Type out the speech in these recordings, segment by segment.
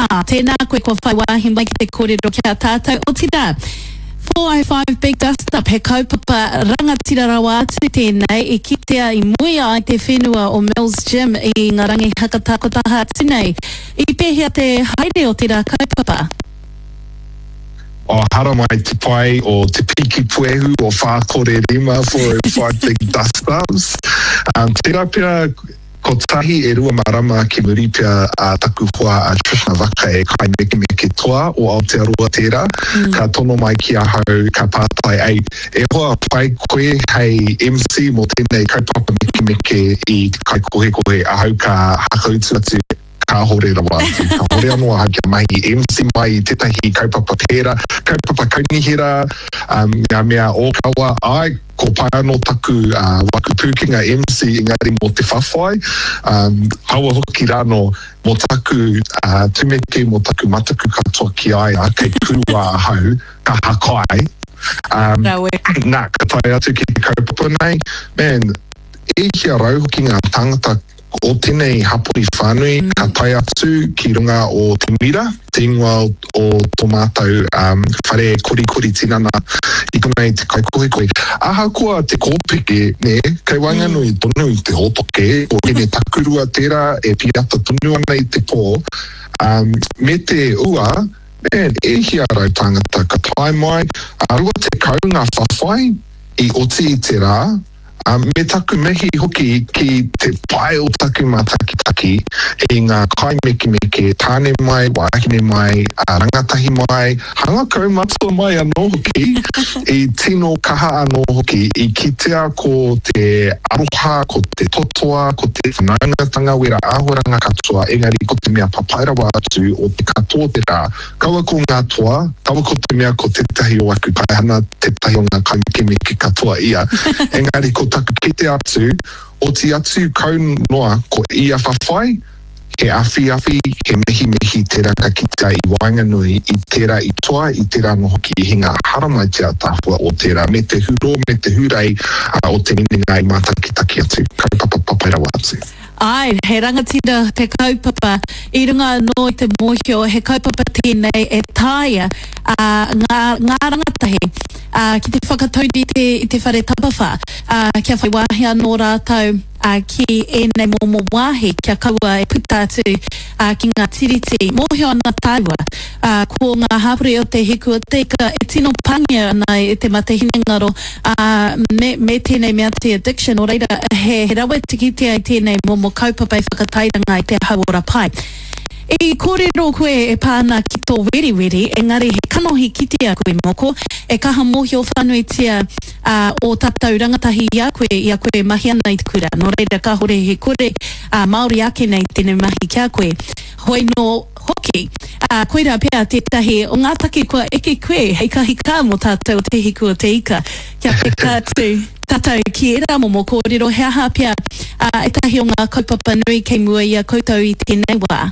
Ā, tēnā koe kua whai wāhi mai ki te kōrero ki a tātou, otirā, 405 Big Dust Up, he kaupapa rangatira rawa atu tēnei i kitea i muia ai te whenua o Mills Gym i ngā rangi hakatā kua taha atu nei. I pēhea te haere o tērā kaupapa? O haramai te pai o te piki puehu o 405, 405 Big Dust Ups. Tērā pea Kotahi e rua marama ki muri pea a taku hoa a Trishna Vaka e kaimekemeke toa o Aotearoa tērā, ka tono mai ki ahau ka pātai, Ei, e hoa, pai koe hei MC mō tēnei kaupapa mekemeke i te kaikohekohe? Ahau ka hakautu atu, Kāhore rawa atu. Kāhore anō ahau kia mahi MC mai i tētahi kaupapa pērā, kaupapa kaunihera, ngā mea ōkawa, āe, Ko pai anō taku waku pūkenga MC engari mō te whawhai, kaua hoki rānō mō taku tumeke, mō taku mataku katoa ki a ia, kei kūwā ahau, ka hakai. Rawe. Nā, ka tae atu ki te kaupapa nei, man, e hia rau hoki ngā tāngata o tenei hapori whānui ka tae atu ki runga o Te Mira, te ingoa o to mātou whare korikori tinana i konei te kaikohikohi. Ahakoa te kōpeke, nē, kei waenganui tonu i te hōtoke, ko Hine Takurua tērā e piata tonu ana i te pō, me te ua, man, e hia tāngata ka tae mai, 20 ngā whawhai i oti i te rā, Ā, me taku mihi hoki ki te pai o taku mātakitaki i ngā kaimekemeke, tāne mai, wāhine mai, rangatahi mai, hanga kaumatua mai anō hoki, i tino kaha anō hoki, i kitea ko te aroha, ko te totoa, ko te whanaungatanga wera āhuaranga katoa, engari ko te mea papai rawa atu o te katoa te rā, Kaua ko ngā toa, kaua ko te mea ko tētahi o aku paihana, tētahi o ngā kaimekemeke katoa ia, engari ko taku kite atu, oti atu kau noa ko ia whawhai, he awhiawhi, he mihimihi tērā ka kitea i waenganui i tērā i toa, i tērā anō hoki i hinga, haramai te ataahua o tērā, me te hurō, me te hurei o te minenga i mātakitaki atu, kaupapa papai rawa atu. Āe, he rangatira te kaupapa, i runga anō i te mōhio he kaupapa tēnei e taea ngā, ngā rangatahi ki te whakataurite i te whare tapawhā, kia whai wāhi anō rātou ki ēnei momo wāhi kia kaua e puta atu ki ngā tiriti. Mōhio ana tāua, ko ngā hapori o Te Hiku o Te Ika e tino pāngia ana e te mate hinengaro, Ā, me, me tēnei mea te addiction, nō reira, he, he rawe te kitea i tēnei momo kaupapa e whakatairanga i te hauora pai. I kōrero koe e pā ana ki tō weriweri, engari he kanohi kitea koe, Moko, e kaha mōhio whānuitia, ā, ō tātou rangatahi i a koe, i a koe e mahi ana i te kura. Nō reira, kāhore he kore, ā, Māori ake nei tēnei mahi ki a koe. Hoi nō hoki, ā, koirā pea tētahi o ngā take kua eke koe hei kahikā mō tātou o Te Hiku o Te Ika, kia peka atu tātou ki ērā momo kōrero, he aha pea, ā, ētahi o ngā kaupapa nui kei mua i a koutou i tēnei wā?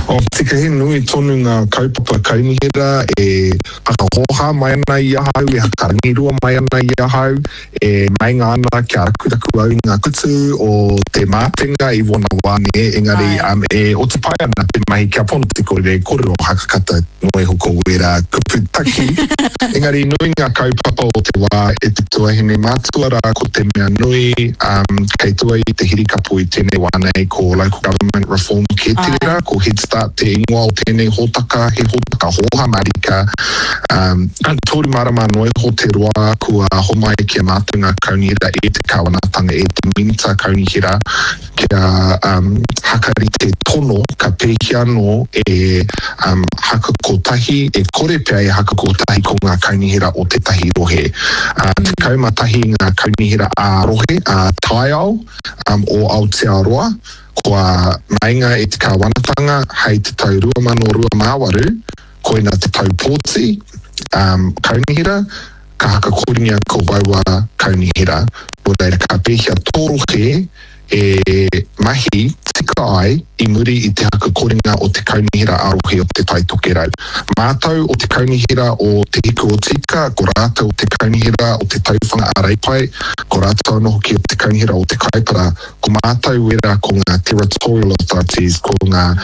Oh, tika he nui tonu ngā kaupapa kaunihera e whakahōhā mai ana i ahau, e whakarangirua mai ana i ahau. E meinga ana kia rakuraku au i ngā kutu o te mātenga i wōna wā nē, engari e oti pai ana te mahi kia pono te kore, kōrero hakakata noa iho ko wērā kupu taki. Engari nui ngā kaupapa o te wā e te tuahine mātua rā ko te mea nui kei tua i te hirikapo i tēnei wā nei ko Local Government Reform kē tērā, ko Head Start te ingoa o tēnei hōtaka, he hōtaka hōhā mārika. Toru marama noa iho te roa kua homai ki a mātou ngā kaunihera e te Kāwanatanga, e te Minita Kaunihera kia hakarite tono ka pēhea anō e haka kotahi, e kore pea e haka kotahi ko ngā kaunihera o tētahi rohe. 11 ngā kaunihera ā-rohe, ā-taiao o Aotearoa kua meinga e te Kāwanatanga hei te tau 2028, Koina te tau pōti, kaunihera, ka hakakoringia ko waua kaunihera. Nō reira, ka pēhea tō rohe e mahi tika ai i muri i te hakakoringa o te kaunihera ā-rohe o Te Tai Tokerau. Mātou o te kaunihera o Te Hiku o Tika, ko rātou o te kaunihera o Te Tauwhanga a Reipae, ko rātou anō hoki o te kaunihera o Te Kaipara, ko mātou wera ko ngā Territorial Authorities, ko ngā.